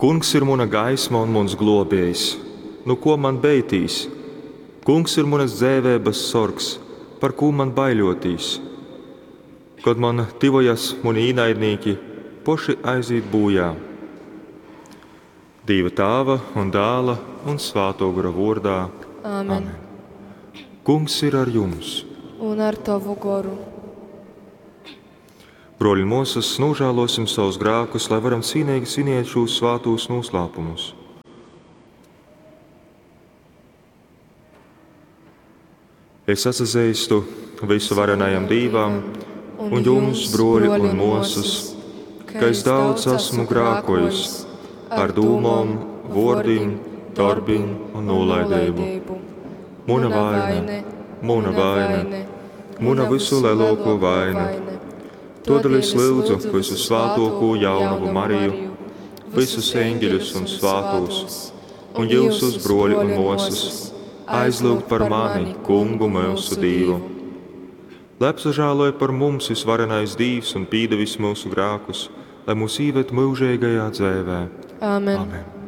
Kungs ir muna gaisma un muns glōbējs, nu kō man beitīs? Kungs ir munas dzeiveibas sorgs, par kū man baiļōtīs? Kod man tyvojas muni īnaidnīki, poši aizīt būjā. Dīva Tāva un Dāla un Svātō Gora vōrdā. Āmen. Amen. Kungs ir ar jums. Un ar tovu goru. Brōļi un mōsas, nožēlosim savus grēkus, lai varam cīnīgi svinēt šos svātos noslēpumus. Es atsazeistu visuvarenajam Dīvam un jums, broļi un mōsas, ka es daudz esmu grākojis ar dūmom, vōrdim, darbim un nolaidību. Muna vaina, muna vaina, muna visu lielāko vaina. Todēļ es lūdzu visu svātoko jaunavu Mariju, visus eņģeļus un svātos, un jūsus broļi un mōsas, aizlūgt par mani, Kungu mūsu Dīvu. Lai apsažāloja par mums visvarenais Dīvs un pīdevis mūsu grēkus, lai mūs īved mūžīgajā dzēvē. Āmen. Amen.